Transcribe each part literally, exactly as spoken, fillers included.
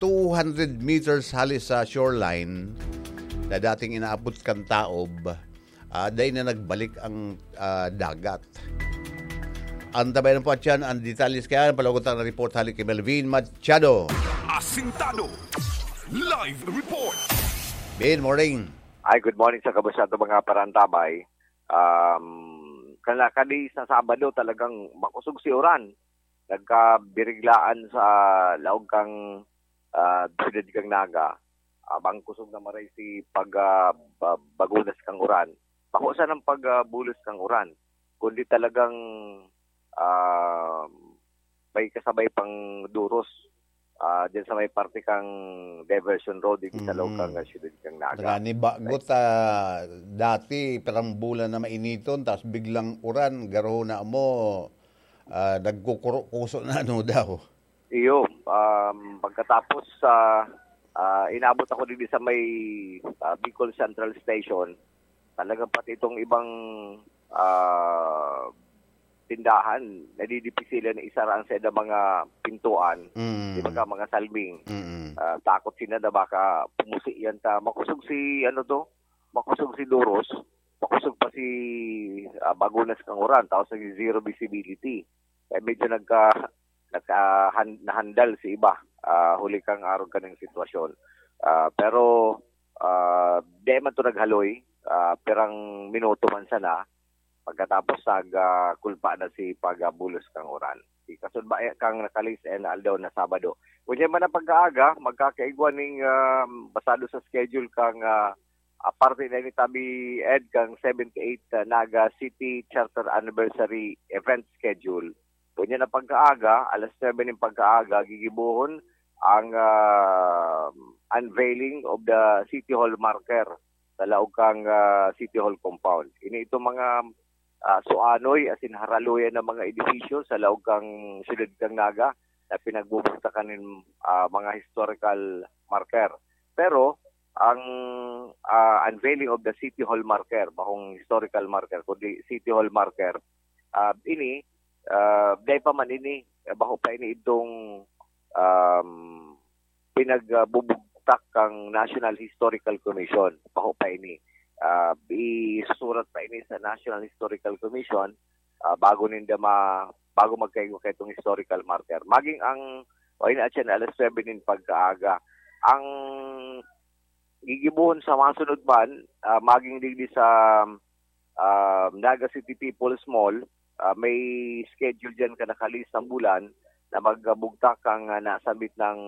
two hundred meters hali sa shoreline na dating inaabot kan taob, ah, dai na nagbalik ang, ah, dagat. Antabayan po atyan ang detalye kaya, palagot ang report hali kay Melvin Machado. Asintado. Live report. Good morning. Ay, good morning sa kabos nato mga parantabay. Um, kana kadi sa Sabado talagang makusog si uran. Nagkabiriglaan sa laog kang, ah, siyudad kang Naga. Ah, bang kusog na maray si pag, ah, ba-, bagunas kang uran. Bako sa nang pag, ah, bulos kang uran, kundi talagang, ah, may kasabay pang duros, ah, dyan sa may parte kang Diversion Road, dito sa laog Mm. kang, ah, siyudad kang Naga. Nagani bagot, ah, dati, pirang bulan na mainiton, tas biglang uran, garo na mo, ah, nagkukuro-kuso na ano daw. Iyo, um, pagkatapos sa, ah, inabot ako dito sa may, ah, Bicol Central Station, talagang pati itong ibang, ah, tindahan, nadidipisilan na isara ang saida mga pintuan, Mm. di ba ka, mga salming. Mm. Ah, takot sila na baka pumusi yan ta. Makusog si, ano to, makusog si Duros, makusog pa si, ah, Bagunas kang uran, tapos naging zero visibility. Kaya medyo nagka-, nagka-, han-, nahandal si iba, ah, huli kang arog kaning sitwasyon. Ah, pero, ah, di man to naghaloy, ah, pirang minuto man sana, pagkatapos nag, ah, kulpa na si pag, ah, bulos kang uran. Ikasud ba, eh, kang nakalis, eh, na aldaw na Sabado. Ngunyan man ang pagkaaga, magkakaigwa ning, ah, basado sa schedule kang, ah, ah, parte na ni Tabi Ed kang seventy-eight, ah, Naga City Charter Anniversary Event Schedule. Ngunyan ang pagkaaga, alas nuebe ning pagkaaga, gigibohon ang, ah, unveiling of the City Hall marker sa laog kang, ah, City Hall compound. Ini itong mga, ah, suanoy, asin haraluyan ng mga edifisyo sa laog kang siyudad kang Naga na pinagbubugtakan nin, ah, mga historical marker. Pero ang, ah, unveiling of the City Hall marker, bakong historical marker, kundi City Hall marker, ah, ini, ah, dai pa man ini, eh, bako pa ini itong, um, pinagbubugtak kang National Historical Commission. Bako pa ini. Ah, isusurat pa ini sa National Historical Commission, ah, bago ninda ma-, bago magkaigwa kaitong historical marker. Maging ang, o, ini atyan, alas nuebe nin pagkaaga. Ang gigibohon sa masunod man, ah, maging digdi sa, ah, Naga City People's Mall, ah, may schedule diyan ka nakalis na bulan na magbugtak ang, ah, nasambit ng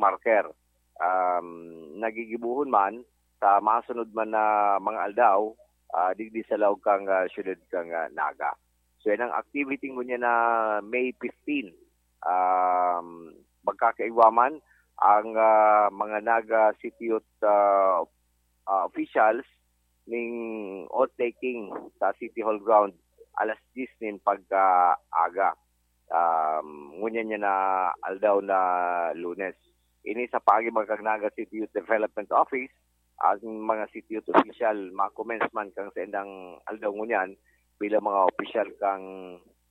marker. Um, nagigibohon man sa masunod man na mga aldaw, ah, digdi sa laog kang, ah, siyudad kang, ah, Naga. So, yan ang activity ngunyan na May fifteen. Um, magkakaigwa man ang, ah, mga Naga City Youth, ah, ah, officials ning oath-taking sa City Hall ground alas diyes nin pagkaaga. Um, ngunyan niya na aldaw na Lunes. Ini sa paagi mga kang Naga City Youth Development Office, ang mga city youth official, ma-commence man kang sa indang aldaw ngunyan bilang mga opisyal kang,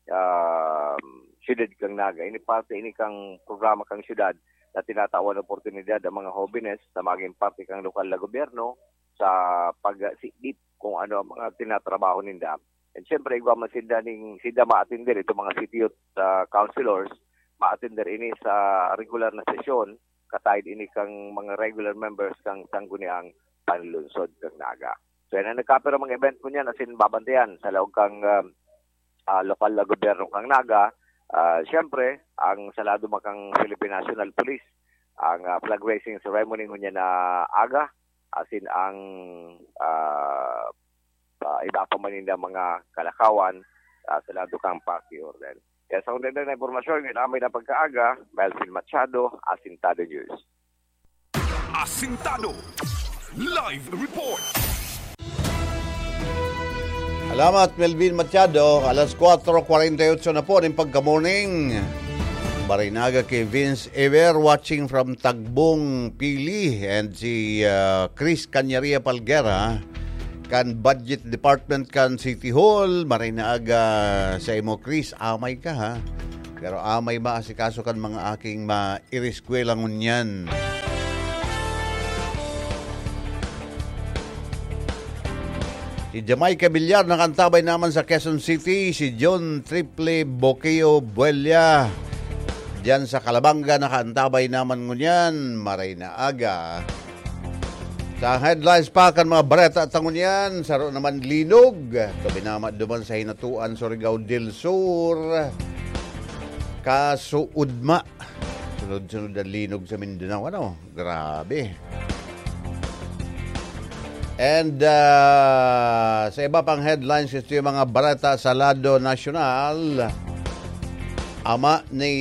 um, siyudad kang Naga. Ini parte ini kang programa kang siyudad na tinatawan oportunidad ang mga hobenes na maging parte kang lokal na gobyerno sa pagsidip kung ano ang mga tinatrabaho ninda. And syempre, igwa man sinda ning, sinda maatender, itong mga city youth, ah, councilors, maatender ini sa regular na sesyon, kataid ini kang mga regular members kang Sangguniang Panlungsod kang Naga. So, yan ang nagkapira mga event ko niyan, asin babantayan sa laog kang, ah, ah, lokal na gobyerno kang Naga. Ah, syempre, ang salado man kang Philippine National Police, ang, ah, flag raising ceremony ngunyan na aga, asin ang, ah, ah, iba pa man ninda mga kalakawan, ah, sa lado kang Party Order. Kaya sa undang na impormasyon, yun amay na pagkaaga, Melvin Machado, Asintado News. Asintado Live Report. Salamat, Melvin Machado. Alas kwatro kwarenta y otso na po ning pagka-morning. Barinaga kay Vince Ever, watching from Tagbong, Pili, and si, ah, Chris Canyaria Palguera kan Budget Department kan City Hall. Maray na aga sa imo, Chris. Amay ka, ha? Pero amay maasikaso kan mga aking maireskwela ngunyan. Si Jamaica Villar nakaantabay naman sa Quezon City, si John Triple Boqueo Buella diyan sa Calabanga nakaantabay naman ngunyan, maray na aga. Sa headlines pa kan mga bareta ta ngunyan, saro naman linog. Ito binama duman sa Hinatuan, Surigao del Sur. Kasuudma. Sunod-sunod ang linog sa Mindanao. Ano? Grabe. And ah, sa iba pang headlines, ito yung mga bareta sa lado nasyonal. Ama ni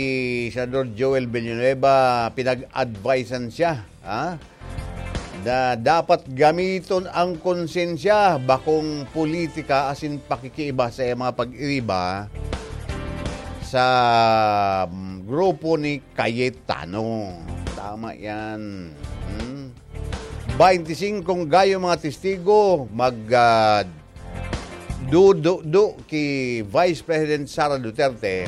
Senador Joel Villanueva, pinag-advisean siya, ha? Na dapat gamiton ang konsensya, bakong politika asin pakikiiba sa mga pag-iriba sa mm, grupo ni Cayetano. Tama yan. Hmm? Baintisingkong gayo mga testigo mag ah, dududo ki Vice President Sara Duterte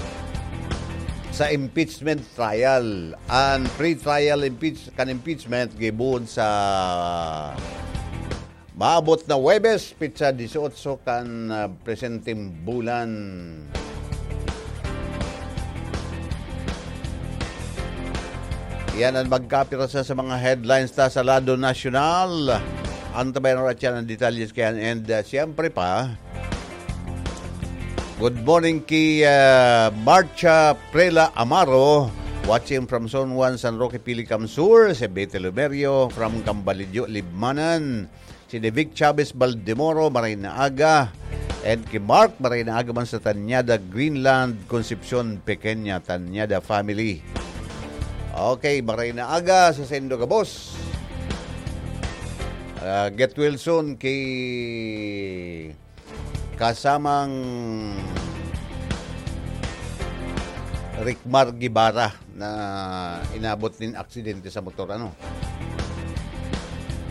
sa impeachment trial. An pre-trial impeach-, kan impeachment gibuon sa maabot na Huwebes, petsa dieciocho kan ah, presenteng bulan. Yan ang magkapirasa sa mga headlines ta sa lado nasyonal. Antabayan oras yan ang detalyes kayan. And ah, siyempre pa, good morning kay ah, Marcha Prela Amaro, watching from Zone one, San Roque, Pilicam Sur, si Betty Lumerio from Cambalidio, Libmanan, si Devic Chavez Baldemoro, maray na aga, and kay Mark, maray na aga man sa Tañada, Greenland, Concepcion, Pequeña, Tañada family. Okay, maray na aga sa saindo gabos. Ah, get well soon kay kasamang Ricmar Guevara na inabot nin aksidente sa motor, ano.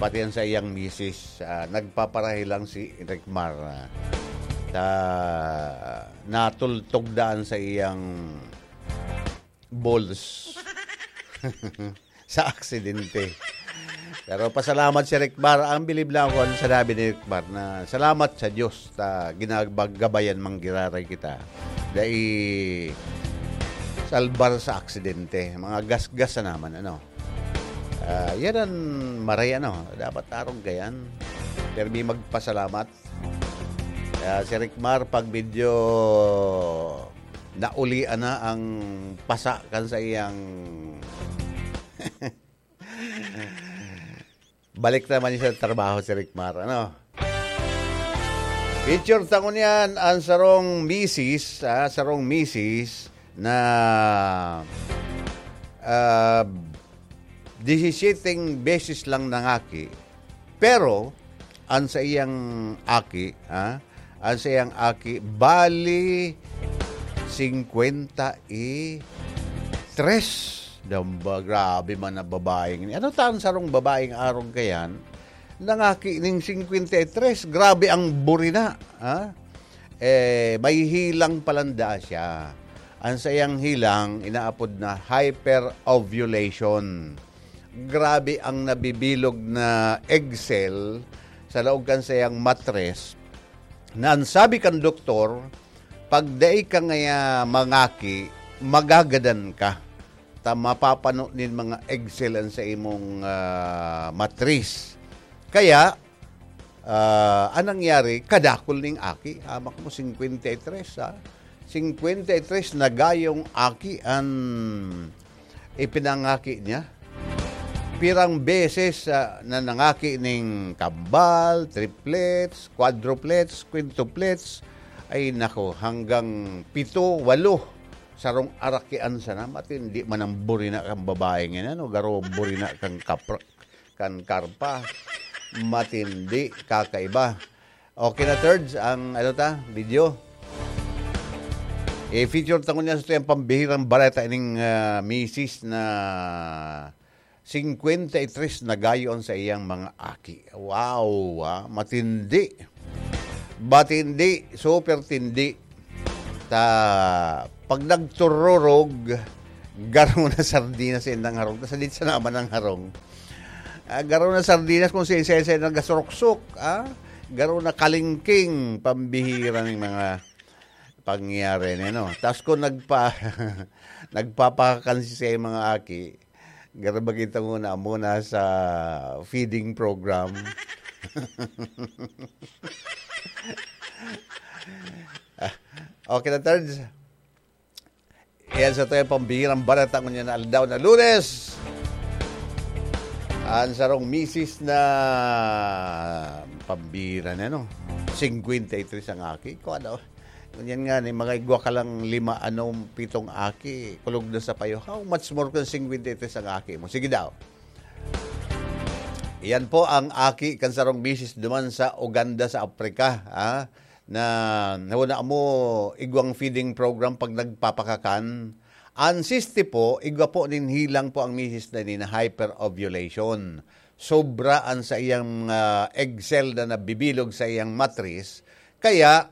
Pati yan sa iyang misis, ah, nagpaparahi lang si Ricmar, ah, sa natultog daan sa iyang balls sa aksidente. Pero pasalamat si Ricmar. Ang bilib lang ako, ano sinabi ni Ricmar, na salamat sa Diyos ta ginagabayan man giraray kita. Dai salbar sa aksidente. Mga gasgas na naman, ano. Ah, yan ang maray, ano. Dapat arog kayan. Pero may magpasalamat. Kaya si Ricmar, pag medyo naulian na ang pasa kan sa iyang balik naman siya sa trabaho si Ricmar, ano? Picture tangon yan, ang sarong misis, ah, sarong misis na ah, disisyeteng beses lang nangaki. Pero, ang sa iyang aki, ha? Ang sa iyang aki, bali, singkwenta y tres. Damba, grabe man na babaeng ini. Ano ta ang sarong babaeng arog kayan? Nangaki ning singkwenta y tres, grabe ang burina, ha? Eh, may hilang palan daa siya. Ang sa iyang hilang, inaapod na hyperovulation. Grabe ang nabibilog na egg cell sa laog kan sa iyang matres, na ang sabi kan doktor, pag dai ka ngaya mangaki, magagadan ka. Ta mapapano nin mga egg cell an sa imong, ah, matris. Kaya, ah, an nangyari, kadakul ning aki, hamak mo, singkwenta y tres, ha? Singkwenta y tres na gayong aki an ipinangaki niya. Pirang beses, ah, na nangaki ning kambal, triplets, quadruplets, quintuplets, ay nako, hanggang pito, walo. Sarong arakian sana, matindi man ang burina kan babaeng yan, ano, garo burina kan kapra-, kan karpa. Matindi, kakaiba. Okay na, Thirds, ang, ano ta, video. I-feature ta ngunyan sa tuyang pambihirang bareta ining, ah, misis na singkwenta y tres na gayo an sa iyang mga aki. Wow, ah, matindi. Matindi, super tindi. Ta Pag nagtururog, garo na sardinas sa indang harong. Tas dito sa naman ang harong. Ah, garo na sardinas kung sa isa-isa nagasuruksok, ah. Garo na kalingking, pambihira ng mga pangyayari na, no? Tas kung nagpa-, nagpapakakan si sa mga aki, garo ba kita muna, muna sa feeding program? Ah, okay na, Terds. Yan sa tayo pambihirang balita ngunyan na aldaw na Lunes. Ang sarong misis na pambihira na, no? Singkwenta y tres ang aki. Kung ano, ngunyan nga ni, mga igwa ka lang lima, anong pitong aki, kulog na sa payo. How much more kung singkwenta y tres ang aki mo? Sige daw. Yan po ang aki kan sarong misis duman sa Uganda, sa Africa, ah, na, na wala mo igwang feeding program pag nagpapakakan. Ang siste po, igwa po nin hilang po ang misis na ini na hyperovulation. Sobra ang sa iyang, ah, egg cell na nabibilog sa iyang matris. Kaya,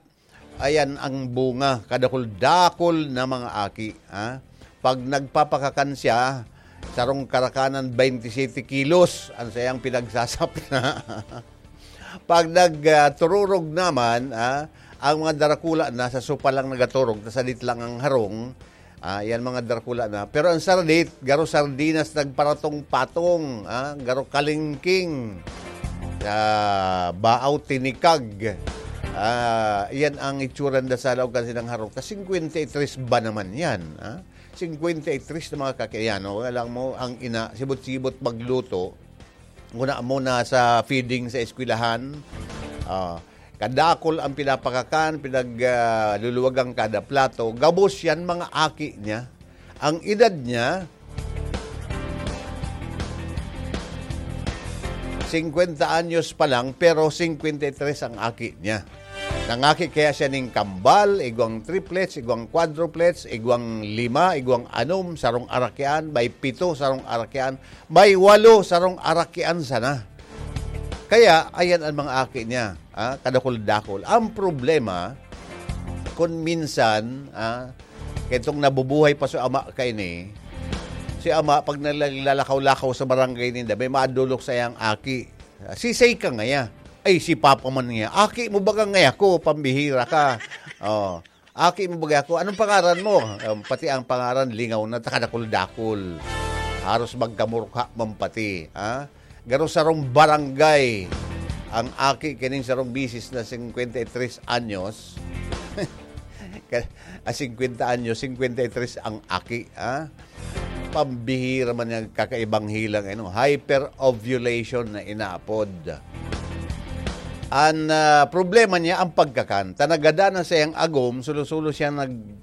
ayan ang bunga, kadakul-dakul na mga aki, ha? Pag nagpapakakan siya, sarong karakanan, twenty-seven kilos ang sayang pinagsasapna. Pag nag, ah, tururog naman, ah, ang mga darakula na sa sopa lang nagaturog, tas sadit lang ang harong, ah, yan mga darakula na. Pero ang saradit, garo sardinas nagparatong-patong, ah, garo kalingking, ah, baaw tinikag. Ah, yan ang itsura na sa laog kasi ng harong. Tas singkwenta y tres ba naman yan, ah? Singkwenta y tres na mga kakayano, alam mo, ang ina, sibot-sibot magluto, muna, muna sa feeding sa eskwelahan, ah, kadakol ang pinapakakan, pinag, ah, luluwagan kada plato. Gabos yan, mga aki niya. Ang edad niya, singkwenta anyos pa lang, pero singkwenta y tres ang aki niya. Nangaki kaya siya ning kambal, igwang triplets, igwang quadruplets, igwang lima, igwang anom, sarong arakyan, may pito, sarong arakyan, may walo, sarong arakyan sana. Kaya, ayan ang mga aki niya, ah, kadakul-dakul. Ang problema, kung minsan, ah, kaya itong nabubuhay pa si ama kaini, si ama, pag naglalakaw-lakaw sa barangay ninda, may madulok sa iyang aki. Sisay ka ngaya. Ay, si Papa man niya. Aki mo baga ngaya ko, pambihira ka. Oh. Aki mo baga ako. Anong pangaran mo? Um, pati ang pangaran, lingaw na, takadakul-dakul. Haros magkamurka man pati. Ha? Garo sarong barangay. Ang aki kining sarong misis na singkwenta y tres anyos. Ka-, ah, singkwenta anyos, singkwenta y tres ang aki. Ha? Pambihira man yang kakaibang hilang, ano, hyperovulation na inaapod. An, ah, problema niya, ang pagkakan. Ta nagada na sa iyang agom, sulo-sulo siya nag-,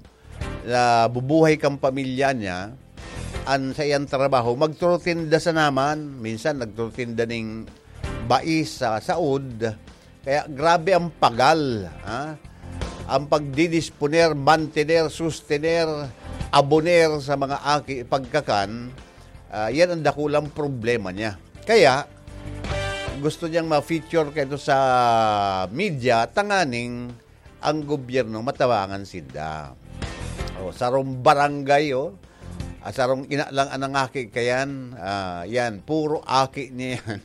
nabubuhay kang pamilya niya, an sa iyang trabaho, magturutinda sa naman. Minsan, nagturutinda ning bais sa saod. Kaya grabe ang pagal, ha? Ang pagdidisponer, mantener, sustener, aboner sa mga aki, pagkakan, ah, yan ang dakulang problema niya. Kaya, gusto niyang ma-feature kaito sa media, tanganing ang gobyerno matabangan sinda. O, sarong barangay, oh. Ah, sarong ina lang ang nangaki kayan. Ah, yan, puro aki niya yan.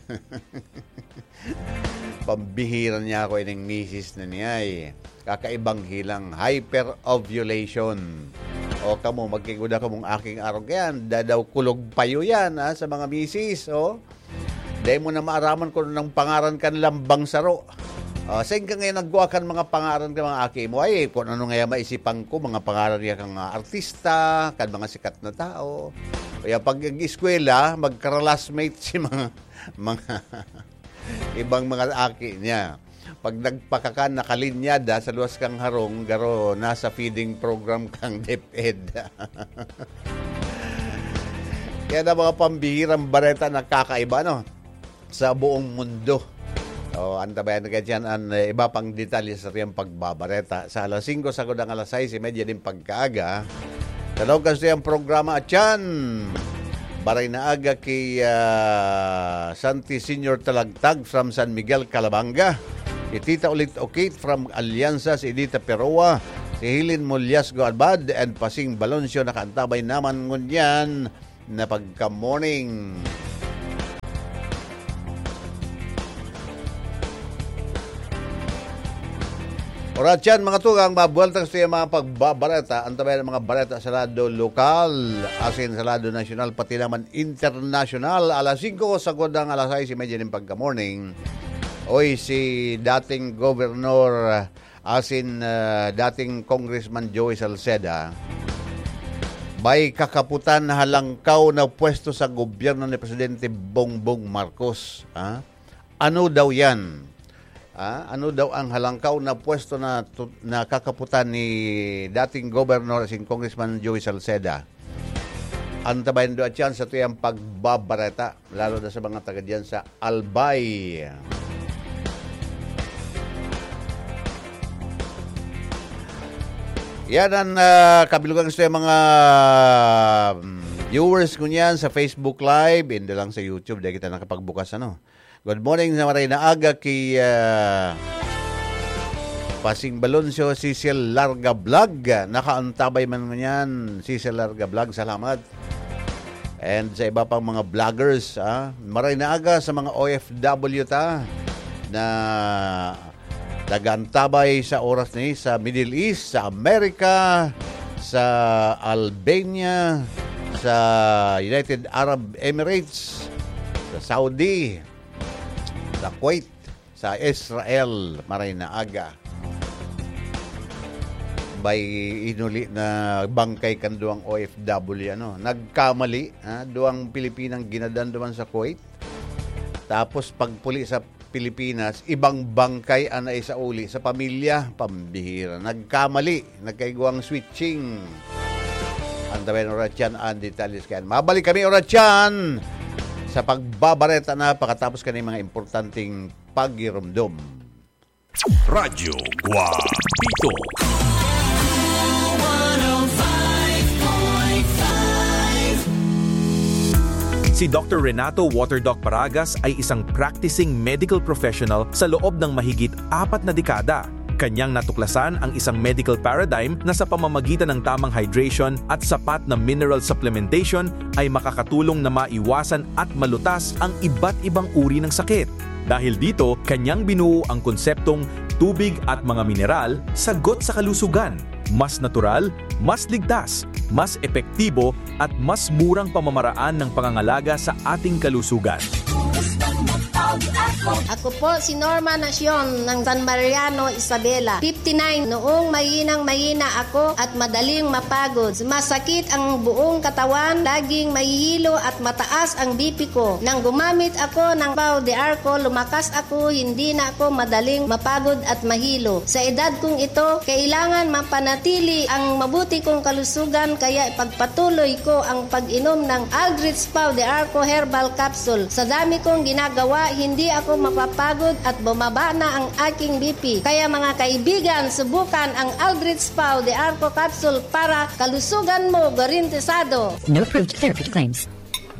Pambihira niya ako ining misis na niya, eh. Kakaibang hilang, hyperovulation. O, kamo, magkiguda kamong aking arog yan. Dadaw kulog payo yan, ha, sa mga misis, oh. Dai mo na maaraman kung anong pangaran kan lambang saro. Ah, sain ka ngayon nagkuha kan mga pangaran kan mga aki mo? Ay, kung ano nga maisipan ko, mga pangaran niya kang, ah, artista, kan mga sikat na tao. Kaya pag nag-eskwela, magka-classmate si mga, mga ibang mga aki niya. Pag nagpakakan, nakalinyada sa luwas kang harong, garo nasa feeding program kang DepEd. Yan ang mga pambihirang bareta na kakaiba, no? Sa buong mundo. O, antabayan na kayo dyan ang, eh, iba pang detalye sa atong pagbabareta. Sa alas singko, sagkod ang alas sais y media din pagkaaga. Sa loob kasi ang programa at yan, Baray na Aga kay, ah, Santi Senior Talagtag from San Miguel, Calabanga. Si Tita Ulit Okit from Alianza, si Edita Peroa, Si Helen Mulyasgo Albad and Pasing Baloncio nakaantabay naman ngunyan na pagka-morning. Oras yan, mga tugang, mabuwelta sa mga pagbabareta. Antabayan ang mga bareta sa lado lokal, asin sa lado nasyonal, pati naman internasyonal. Alas singko, sagkod ang alas sais y media nin pagka-morning. Oy, si dating gobernador asin, ah, dating Congressman Joey Salceda, may kakaputan na halangkaw na pwesto sa gobyerno ni Presidente Bongbong Marcos, ha? Ano daw yan? Ah, ano daw ang halangkaw na pwesto na tu-, na kakaputan ni dating gobernador asin Congressman Joey Salceda? Antabayan do at yan sa tuyang pagbabareta, lalo na sa mga taga diyan sa Albay. Yan ang, ah, kabilugan sa mga, mm, viewers ko niyan sa Facebook Live, hindi lang sa YouTube, dahil kita nakapagbukas, ano. Good morning sa maray na aga ki, ah, Pasing Baloncio, Cecil Larga Vlog. Nakaantabay man ngunyan, Cecil Larga Vlog. Salamat. And sa iba pang mga vloggers, ah. Maray na aga sa mga O F W ta na nag-aantabay sa oras ni sa Middle East, sa America, sa Albania, sa United Arab Emirates, sa Saudi, sa Kuwait, sa Israel, maray na aga. May inuli na bangkay kan duwang O F W, ano, nagkamali, ha? Duwang Pilipinang ginadan duman sa Kuwait. Tapos pagpuli sa Pilipinas, ibang bangkay ang naisauli sa pamilya. Pambihira. Nagkamali. Nagkaigwang switching. Antabayan oras yan, ang detalles kayan. Mabalik kami oras yan sa pagbabareta na pakatapos kani mga importanteng pagirumdom. Radyo Guapito. Si Doctor Renato Waterdoc Paragas ay isang practicing medical professional sa loob ng mahigit apat na dekada. Kanyang natuklasan ang isang medical paradigm na sa pamamagitan ng tamang hydration at sapat na mineral supplementation ay makakatulong na maiwasan at malutas ang iba't ibang uri ng sakit. Dahil dito, kanyang binuo ang konseptong tubig at mga mineral, sagot sa kalusugan. Mas natural, mas ligtas, mas epektibo, at mas murang pamamaraan ng pangangalaga sa ating kalusugan. Ako po si Norma Nacion ng San Mariano, Isabela. Fifty-nine, noong mahinang mahina ako at madaling mapagod. Sumasakit ang buong katawan, laging mahihilo at mataas ang B P ko. Nang gumamit ako ng Pau de Arco, lumakas ako, hindi na ako madaling mapagod at mahilo. Sa edad kong ito, kailangan mapanatili ang mabuti kong kalusugan, kaya ipagpatuloy ko ang pag-inom ng Aldrich Pau de Arco Herbal Capsule. Sa dami kong ginagawa, hindi ako mapapagod at bumaba na ang aking B P. Kaya, mga kaibigan, subukan ang Aldrich Pau de Arco Capsule para kalusugan mo garantisado. No approved therapy claims.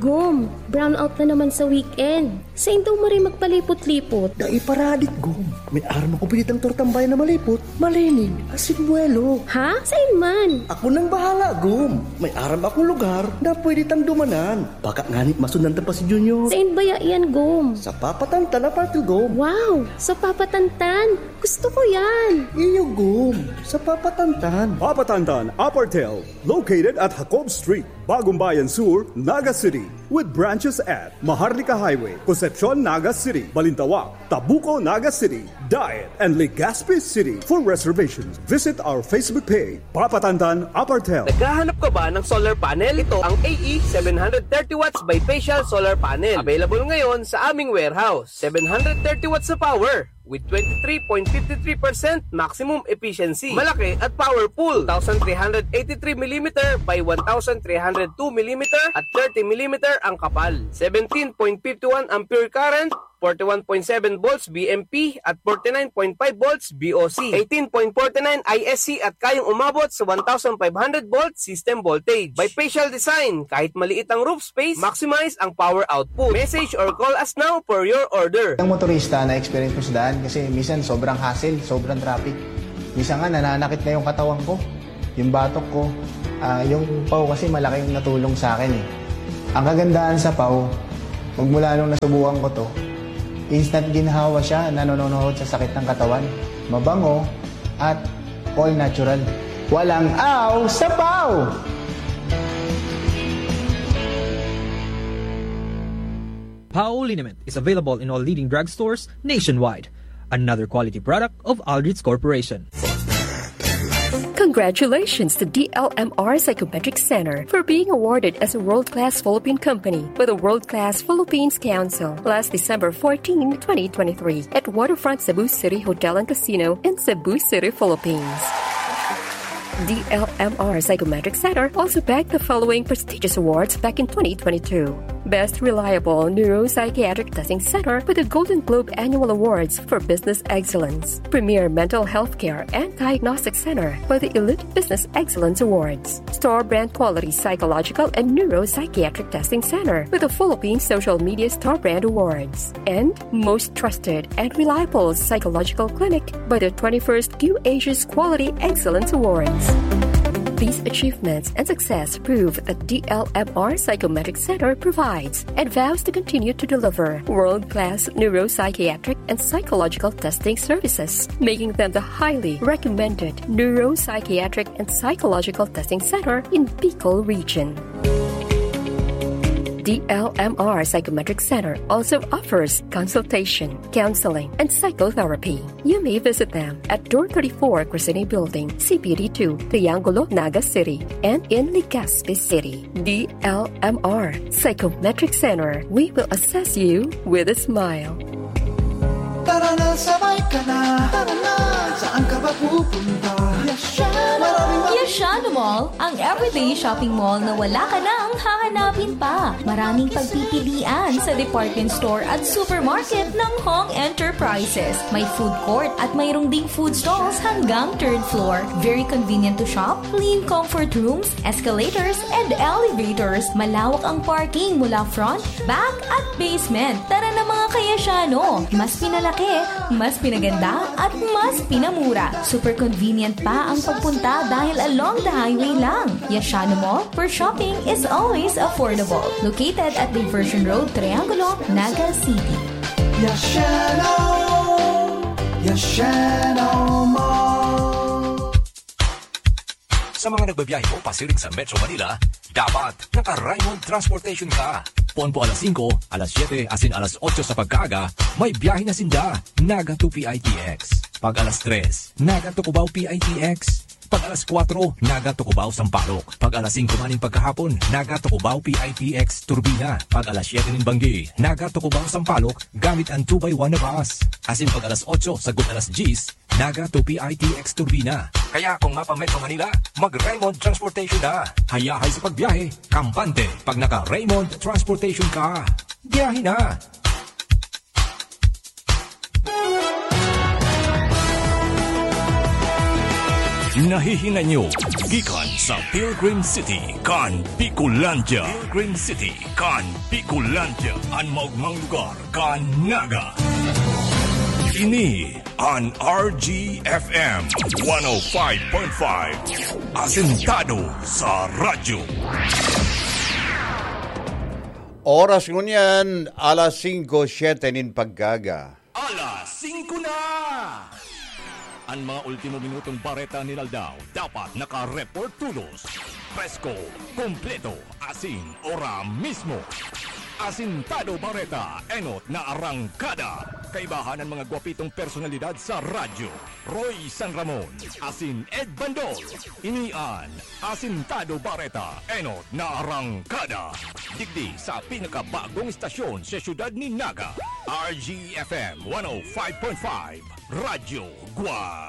Gom, brownout na naman sa weekend. Sain daw maray magpalipot-lipot? Dai paradik, Gom. May aram ako pinitang tortambay na malipot, malinig, asin buwelo. Ha? Sain man? Ako nang bahala, Gom. May aram akong lugar na pwede tang dumanan. Baka ngani masundan ta pa si Junior. Sain baya iyan, Gom? Sa Papa Tantan Apartel, Gom. Wow! Sa Papa Tantan! Gusto ko yan! Iyo, Gom. Sa Papa Tantan. Papa Tantan Apartel, located at Jacob Street, Bagumbayan Sur, Naga City, with branches at Maharlika Highway, Concepcion, Naga City, Balintawak, Tabuco, Naga City, Daet, and Legazpi City. For reservations, visit our Facebook page, Papa Tantan Apartel. Naghahanap ka ba ng solar panel? Ito ang A E seven hundred thirty watts bifacial solar panel. Available ngayon sa aming warehouse. Seven hundred thirty watts na power with twenty-three point fifty-three percent maximum efficiency. Malaki at powerful. Two thousand three hundred eighty-three millimeter by one thousand three hundred two millimeter at thirty millimeter ang kapal. Seventeen point fifty-one ampere current, forty-one point seven volts V M P at forty-nine point five volts V O C. Eighteen point forty-nine I S C at kayang umabot sa one thousand five hundred volt system voltage. Bifacial design, kahit maliit ang roof space, maximize ang power output. Message or call us now for your order. Ang motorista, na-experience ko sa daan kasi minsan sobrang hassle, sobrang traffic. Minsan nga, nananakit na yung katawan ko, yung batok ko. Ah, yung pau kasi malaking natulong sa akin eh. Ang kagandahan sa pau, magmula nung nasubukan ko to, instant ginhawa siya, nanononohod sa sakit ng katawan. Mabango at all natural. Walang aw sa pau! Pau liniment is available in all leading drugstores nationwide. Another quality product of Aldrich Corporation. Congratulations to D L M R Psychometric Center for being awarded as a world-class Philippine company by the World Class Philippines Council last December fourteen, twenty twenty-three, at Waterfront Cebu City Hotel and Casino in Cebu City, Philippines. D L M R Psychometric Center also bagged the following prestigious awards back in twenty twenty-two: Best Reliable Neuropsychiatric Testing Center with the Golden Globe Annual Awards for Business Excellence, Premier Mental Health Care and Diagnostic Center by the Elite Business Excellence Awards, Star Brand Quality Psychological and Neuropsychiatric Testing Center with the Philippine Social Media Star Brand Awards, and Most Trusted and Reliable Psychological Clinic by the twenty-first Q Asia's Quality Excellence Awards. These achievements and success prove that D L M R Psychometric Center provides and vows to continue to deliver world-class neuropsychiatric and psychological testing services, making them the highly recommended neuropsychiatric and psychological testing center in Bicol region. D L M R Psychometric Center also offers consultation, counseling, and psychotherapy. You may visit them at Door thirty-four, Crescene Building, C P D two, Triangulo, Naga City, and in Legazpi City. D L M R Psychometric Center. We will assess you with a smile. Tara na, sabay ka na. Tara na, saan ka ba pupunta? Yashano! Maraming Yashano Mall, ang everyday shopping mall na wala ka nang hahanapin pa. Maraming pagpipilian sa department store at supermarket ng Hong Enterprises. May food court at mayroong ding food stalls hanggang third floor. Very convenient to shop, clean comfort rooms, escalators, and elevators. Malawak ang parking mula front, back, at basement. Tara na, mga ka-Yashano! Mas pinalaki, mas pinaganda, at mas pinamura. Super convenient pa ang pagpunta dahil along the highway lang. Yashano Mall, where shopping is always affordable. Located at Diversion Road, Triangulo, Naga City. Yashano! Yashano Mall! Sa mga nagbabiyahe o pasiring sa Metro Manila, dapat naka-Raymond Transportation ka. Ponpo alas singko, alas siyete, asin alas otso sa pagkaaga, may biyahe na sinda, Naga to P I T X. Pag alas tres, Naga to Cubao P I T X. Pag alas kwatro, Naga to Cubao Sampaloc. Pag alas singko man nin pagkahapon, Naga to Cubao P I T X Turbina. Pag alas siyete nin banggi, Naga to Cubao Sampaloc, gamit an two by one na bus. Asin pag alas otso sagkod alas dyes, Naga to P I T X Turbina. Kaya kung mapa-Metro Manila, mag-Raymond Transportation na. Hayahay sa pagbiyahe, kampante pag naka-Raymond Transportation ka. Biyahe na! Nahihinay nyo gikan sa Pilgrim City kan Bicolandia. Pilgrim City kan Bicolandia, an maogmang lugar kan Naga. Ini an R G F M one oh five point five, asentado sa radyo. Oras ngunyan, alas singko siyete nin pagkaaga. Alas singko na! An mga ultimo minutong bareta nin aldaw dapat naka-report tolos. Presko, kompleto, asin ora mismo. Asintado Bareta, enot na arangkada. Kaibahan an mga gwapitong personalidad sa radyo. Roy San Ramon, asin Ed Bandol. Ini an Asintado Bareta, enot na arangkada. Digdi sa pinakabagong estasyon sa siyudad nin Naga, R G F M one oh five point five, Radyo Guap.